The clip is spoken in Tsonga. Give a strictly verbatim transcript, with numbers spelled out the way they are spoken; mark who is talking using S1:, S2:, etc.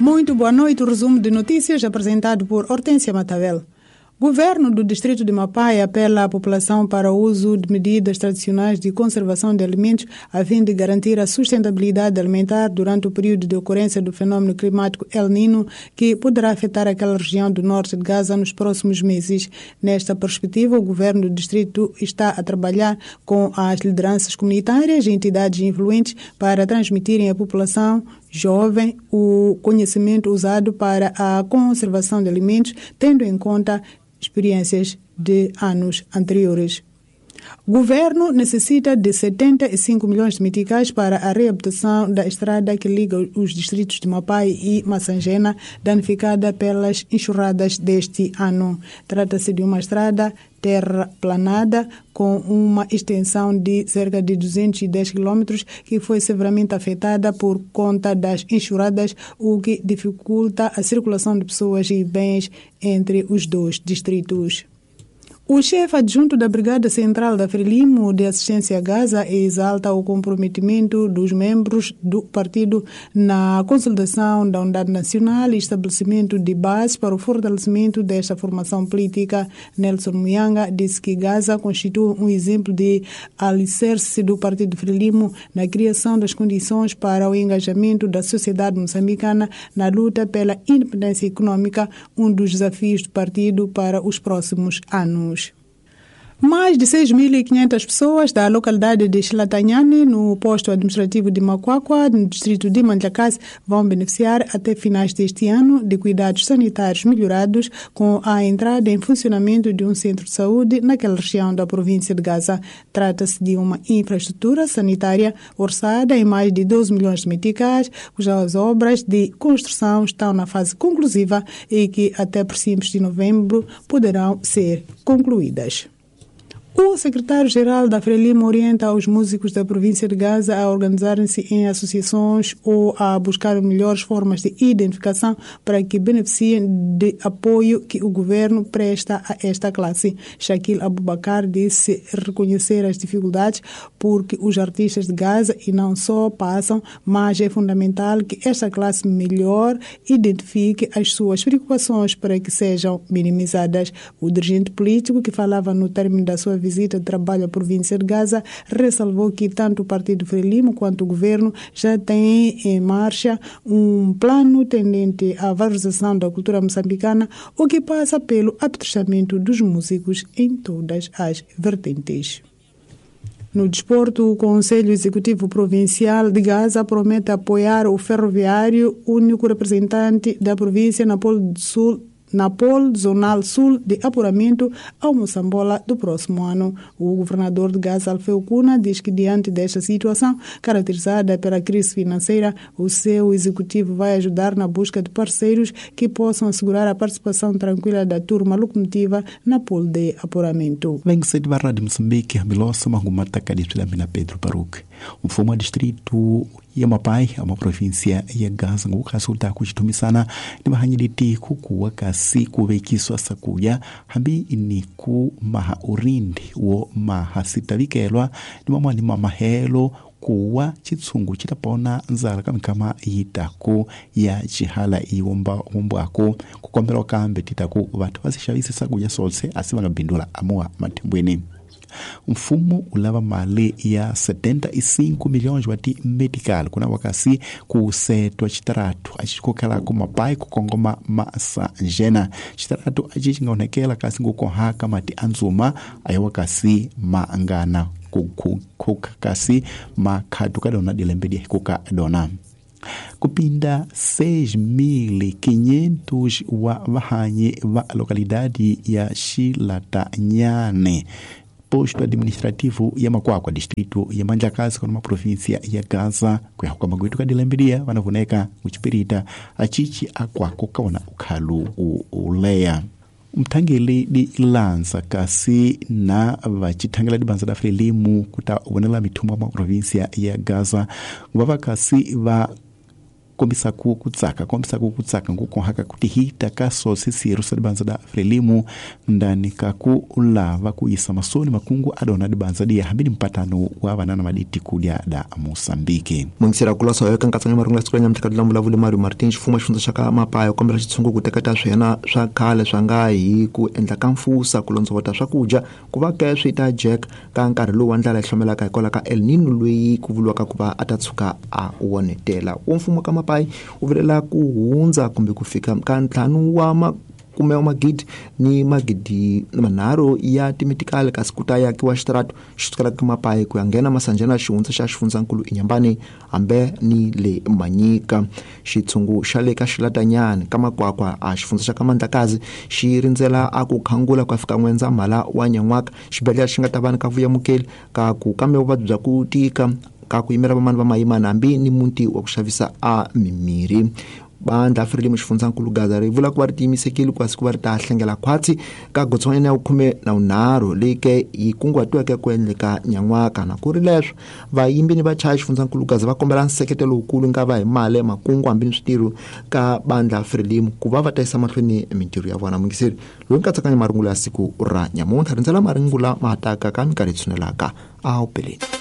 S1: Muito boa noite. O resumo de notícias apresentado por Hortência Matavel. Governo do distrito de Mapai apela à população para o uso de medidas tradicionais de conservação de alimentos a fim de garantir a sustentabilidade alimentar durante o período de ocorrência do fenômeno climático El Niño, que poderá afetar aquela região do norte de Gaza nos próximos meses. Nesta perspectiva, o governo do distrito está a trabalhar com as lideranças comunitárias e entidades influentes para transmitirem à população jovem o conhecimento usado para a conservação de alimentos, tendo em conta experiências de anos anteriores. O governo necessita de setenta e cinco milhões de meticais para a reabilitação da estrada que liga os distritos de Mapai e Massangena, danificada pelas enxurradas deste ano. Trata-se de uma estrada terraplanada com uma extensão de cerca de duzentos e dez quilômetros que foi severamente afetada por conta das enxurradas, o que dificulta a circulação de pessoas e bens entre os dois distritos. O chefe adjunto da Brigada Central da Frelimo de Assistência a Gaza exalta o comprometimento dos membros do partido na consolidação da unidade nacional e estabelecimento de bases para o fortalecimento desta formação política. Nelson Muyanga disse que Gaza constitui um exemplo de alicerce do Partido Frelimo na criação das condições para o engajamento da sociedade moçambicana na luta pela independência econômica, um dos desafios do partido para os próximos anos. Mais de seis mil e quinhentas pessoas da localidade de Xilatanhane, no posto administrativo de Macuacua, no distrito de Mandlakazi, vão beneficiar até finais deste ano de cuidados sanitários melhorados com a entrada em funcionamento de um centro de saúde naquela região da província de Gaza. Trata-se de uma infraestrutura sanitária orçada em mais de doze milhões de meticais, cujas obras de construção estão na fase conclusiva e que até princípios de novembro poderão ser concluídas. O secretário-geral da Frelimo orienta os músicos da província de Gaza a organizarem-se em associações ou a buscar melhores formas de identificação para que beneficiem de apoio que o governo presta a esta classe. Shaquille Abubakar disse reconhecer as dificuldades porque os artistas de Gaza e não só passam, mas é fundamental que esta classe melhor identifique as suas preocupações para que sejam minimizadas. O dirigente político, que falava no término da sua visita de trabalho à província de Gaza, ressalvou que tanto o Partido Frelimo quanto o governo já têm em marcha um plano tendente à valorização da cultura moçambicana, o que passa pelo apetrechamento dos músicos em todas as vertentes. No desporto, o Conselho Executivo Provincial de Gaza promete apoiar o Ferroviário, único representante da província na Polo do Sul, na Polo Zonal Sul de apuramento ao Moçambola do próximo ano. O governador de Gaza, Alfeu Cuna, diz que diante desta situação, caracterizada pela crise financeira, o seu executivo vai ajudar na busca de parceiros que possam assegurar a participação tranquila da turma locomotiva na Polo de apuramento.
S2: vinte e sete barra de Moçambique, Milosa Mangumata na Pedro Baruch. O Foma distrito ya Mapai, uma província ya Gaza, ngukasuta kuchitumisana ni mahanyiliti kukuwa kasi kuvekiswa sakuya hambi ni ku maha urindi wo mahasitavikelwa ni mamwani mamahelo kuwa chitsungu chitapona nzala kamikama yitaku ya chihala iwomba wombwako kukombela kambe titaku vathu vasixavise sakuya solse asi vangabindula amuwa mathembweni. Mfumo ulava mali ya setenta e cinco milhões wa ti medical kuna wakasi kusetwa chitaratu achikokhala mapai kukongoma masanjena chitaratu achi chingaonekela kasi ngukohaka mati anzuma ayo wakasi maangana kuka kasi makhatu kadona dilembedi kuka dona kupinda seis mil e quinhentos wa vahanyi va localidade ya Xilatanyane, posto administrativo ya Makwakwa, distrito ya Mandlakazi, kwa província ya Gaza, kuyahuka magwitu kadilembedia vanavoneka kuchipirita achichi akwako kaona ukhalu uleya mthangeli di lanza kasi na vachithangela dibanza da Frelimu kuta vonela mithumba mwa província ya Gaza vava kasi va Kombisa ku kutsaka kombisa ku kutsaka nkukohaka kutihita kaso sisiru sa dibanza da Frelimu ndani kaku ulava kuisa masoni makungu adona dibanza dia hambini mpatano wa banana maditi kudia da Mosambiki.
S3: Mungisira kulasa yoka nkatsanya marungula siku la nyamutlha la vulavuli Mario Martin xifuma xifundza xa ka Mapaya kombela xitshungu ku teketa swena swa khale swa nga hi ku endla ka mfusa ku londzovota swakudya ku va ka swi ta jack ka nkarhi lowu wa ndlala yi hlomelaka hikwalaho ka El Nino loyi ku vuriwaka ku va a ta tshuka a wonetela. Wo mfumo ka Mapai u vilela ku hundza kumbe ku fika ka ntlhanu wa makume wa magidi ni magidi manharhu ya timitikali kasi ku ta yakiwa xitaratu xi sukela ka Mapai ku ya nghena Masanjana xihundza xa xifundzankulu Inyambani hambe ni le Manyika. Xitshungu xa le ka Xilatanyani ka Makwakwa a xifundza xa ka Mandlakazi xi rindzela a ku khangula ku ya fika N'wendzamhala wa nyan'waka. Xibedhlele xi nga ta va ni ka vuyamukeli ka ku kambe vuvabyi bya ku tika ka ku yimela vamani va mayimana hambi ni muti wa ku xavisa a mimirhi. Bandla Frelimo xifundzankulu Gaza ri vula ku va ri tiyimisekile ku siku va ri ta hlengela khwatsi ka gotswanyana ya khume na vunharhu leyi ke yi kunguhatiweke ku endleka nyan'waka. Na ku ri leswo vayimbi ni vachaya xifundzankulu Gaza va kombela nseketelo lowukulu nga va hi mali makungu hambi ni switirho ka bandla Frelimo ku va va ta yisa mahlweni mintirho ya vona. Mungiseri loyi nkatsakanya marungula ya siku ra nyamuntlha rindzela marungula ma taka ka minkarhi yi tshunelaka a wu peleni.